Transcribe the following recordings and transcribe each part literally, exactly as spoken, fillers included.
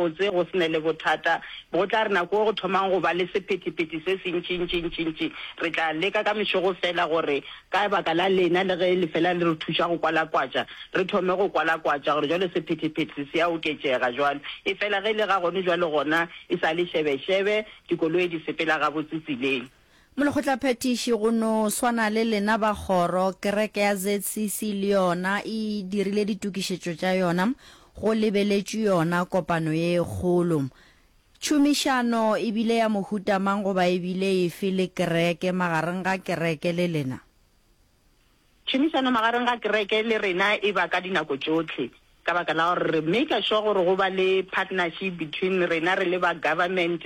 gabotse go se ne le bothata. Go tla re nako go thomang go ba le sephethephethe se se ntši-ntši-ntši-ntši, re tla leka ka mešego fela gore ka baka la lena le ge le fela le re thuša go kwalakwatša, re thome go kwalakwatša gore jwale sephethephethe se a oketšega jwalo. Efela ge e le ga gone jwale gona e sa le šebešebe, dikoloi di sepela gabotse tseleng. Molekgotlaphethiši, go no swana le lena ba kgoro, kereke ya Z C C le yona e dirile ditokišetšo tša yona go lebeletšwe yona kopano ye e kgolo. Tšhomišano e bile ya mohuta mang goba e bile efe le kereke, magareng ga kereke le lena? Tšhomišano magareng ga kereke le rena e ba ka dinako tšohle, ka baka la gore re make sure gore go ba le partnership between rena re le ba government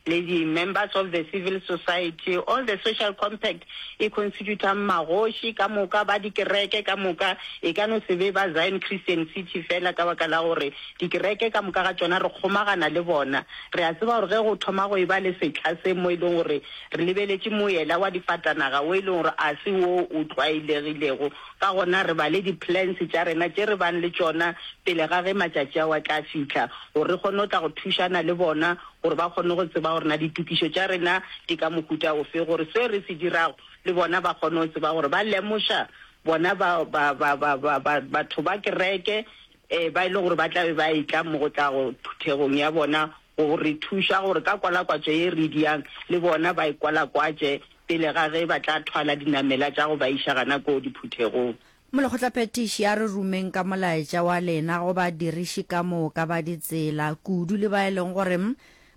le di-members of the civil society. All the social compact e constitutang magoši ka moka ba dikereke ka moka, e ka no se be ba Zion Christian City fela, ka baka la gore dikereke ka moka ga tšona re kgomagana le bona. Re a tseba gore ge go thoma go e ba le setlha se mo e leng gore re lebeletše moela wa difatanaga wo e leng gore a se wo o tlwaelegilego, ka gona re ba le di-plans tša rena tše re bang le tšona pele ga ge matšatši ao a tla fihla, gore re kgone go tla go thušana le bona gore ba kgone go tseba gore na ditokišo tša rena di ka mohuta ofe, gore se re se dirago le bona ba kgone go tseba gore ba lemoša bona ba ba ba ba ba ba batho ba kereke um ba e leng gore ba tla be ba etla mo go tla go phuthegong ya bona go re thuša gore ka kwalakwatšo ye re diang le bona ba e kwalakwatše pele ga ge ba tla thwala dinamela tša go ba iša gana ko diphuthegong. Molekgotlaphethiši, a re rumeng ka molaetša wa lena go badiriši ka moka ba ditsela, kudu le ba e leng gore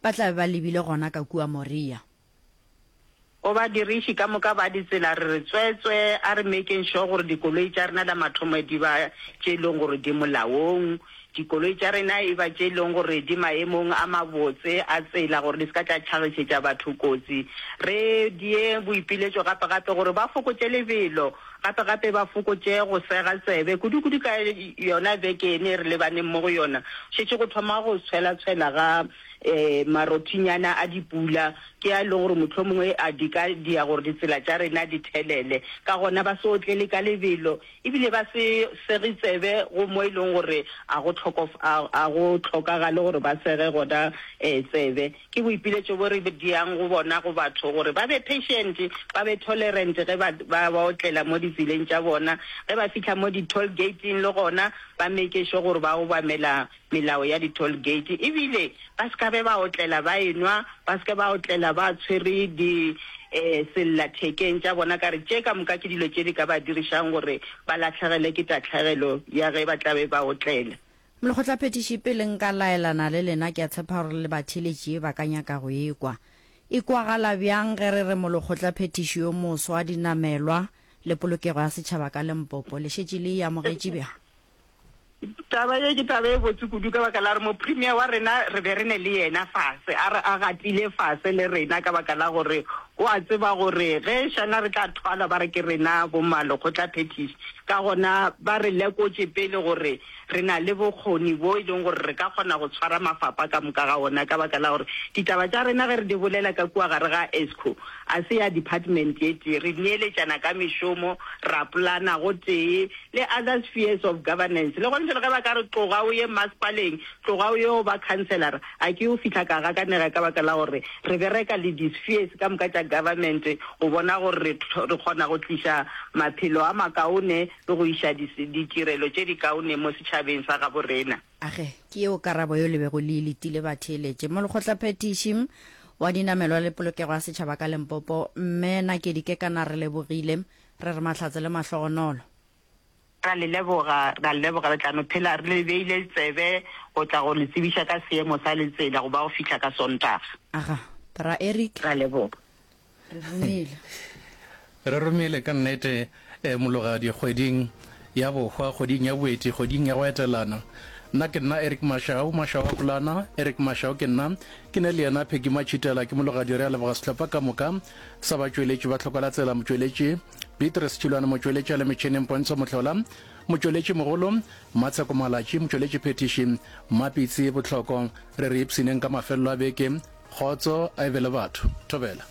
ba tla be ba lebile gona ka kua Moria. Go badiriši ka moka ba ditsela re re tswetswe, a re makeng sure gore dikoloi tša rena la mathomo di ba tše e leng gore di molaong, dikoloi tša rena e ba tše e leng gore di maemong a mabotse a tsela gore di se ka tša tlhagišetša batho kotsi. Re die boipiletšo gape-gape gore ba fokotše lebelo, gape-gape ba fokotše go sega tsebe, kudu-kudu ka yona beke ene re lebaneng mo go yona, šetše go thoma go tshwela-tshwela ga um marothinyana a dipula, ke a e leng gore mohlomongwe a di ka dia gore ditsela tša rena di thelele. Ka gona ba se otlele ka lebelo, ebile ba se sege tsebe go mo e leng gore a go a go hlokagale gore ba sege gona um tsebe. Ke boipiletšo bo re diang go bona go batho gore ba be patient, ba be tolerant ge ba ba otlela mo ditseleng tša bona. Ge ba fihla mo di-toll gate-ing le gona ba make sure gore ba obamela melao ya di-toll gate, ebile ba se ka be ba otlela ba enwa, ba se ke ba otlela ba tshwere di um sellathekeng tša bona, ka re tše ka moka ke dilo tše di ka ba dirišang gore ba latlhegele ke tatlhegelo ya ge ba tla be ba otlela. Molekgotlaphethiši, pele nka laelana le lena, ke a tshepa gore le batheeletši ba ka nyaka go ekwa. E kwagala bjang ge re re molekgotlaphethiši yo moswa dinamelwa le polokego ya setšhaba ka Limpopo? Le šetše le e amogetše bjang? Taba ye ke taba e botse kudu, ka baka la gore mopremier wa rena re be re ne le yena fase, a re a gatile fase le rena, ka baka la gore o a tseba gore ge šana re tla thwalwa ba re ke rena bo malekgotlaphethiši. Ka gona ba re lekotše pele gore re na le bokgoni bo e leng gore re ka kgona go tshwara mafapa ka moka ga ona, ka baka la gore ditaba tša rena ge re di bolela ka kua gare ga Eskom a se ya department ye tee. Re neeletšana ka mešomo, ra polana go tee le other spheres of governance. Le gone jalo ge ba ka re tloga o ye masepaleng, tloga o yo ba councillor, a ke o fihla ka gakanega, ka baka la gore re bereka le di-spheres ka moka tša government go bona gore re kgona go tliša maphelo a makaone le go iša ditirelo tše di kaone mo setšhabeng sa gabo rena. Age, ke yeo karabo yo le bego le e letile, batheeletše. Molekgotlaphethiši wa dinamelwa le polokego ya setšhaba ka Limpopo, mme Nakedi Kekana, re lebogile, re re mahlatse le mahlogonolo. Ra le leboga, ra le leboga. Re tla no phela re le beile tsebe go tla go le tsebiša ka seemo sa letsela go ba go fihla ka Sontaga. Aga, bra Eric. Ra leboga. Re romile. Re romile ka nnete, eh, mologadi, kgweding ya bohwa, kgweding ya boeti, kgweding ya go etelana. Nna ke nna Eric Mashau, Mashau a Polana, Eric Mashau ke nna. Ke ne le yena Peggy Matšhitela, ke mologadi. Re a leboga sehlopha ka moka sa batšweletši ba Hlokolatsela, motšweletši Beatrice Tšhilwane, motšweletši a le metšhineng Pontsho Mohlola, motšweletši mogolo Matsheko Malatši, motšweletši phethiši Mmapitsi Bohloko. Re re ipshineng ka mafelelo a beke. Kgotso a e be le batho. Thobela.